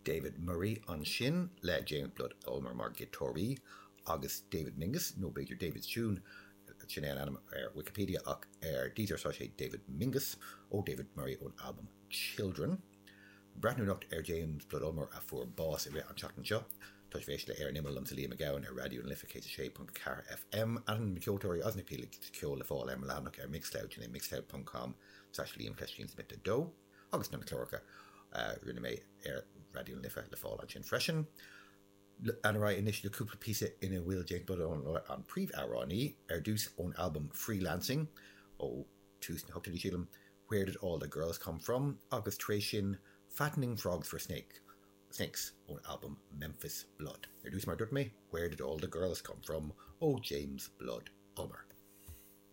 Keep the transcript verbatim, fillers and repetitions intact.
David Murray ansin le James Blood Ulmer mar ghiotáraí agus David Mingus, nó b'fhéidir David's Tune, sin é an ainm ar Wikipedia ach ar Deezer tá sé David Mingus ó David Murray ón albam Children. Breathnú anocht ar James Blood Ulmer a fuair bás i rith an tseachtain seo. Tá sibh ag éisteacht le Ar an Imeall liomsa Liam Mac Gabhann ar Raidió na Life céad a sé ponc ceathair FM. Ainm na ceoltóirí agus na píosaí ceoil le fáil ar mo leathanach ar Mixcloud, sin é mixcloud ponc com slash Liam Cleistín Smith a dó, agus na cláracha a rinne mé ar Raidió na Life le fáil ansin freisin. Ar aghaidh anois le cúpla píosa ina bhfuil James Blood Ulmer an príomhamhránaí, ar dtús ón albam Freelancing ó tús na hochtóidí sílim, Where Did All the Girls Come From agus tar éis sin Fattening Frogs for Snake, Snakes ón albam Memphis Blood. Ar dtús mar dúirt mé, Where Did All the Girls Come From ó James Blood Ulmer.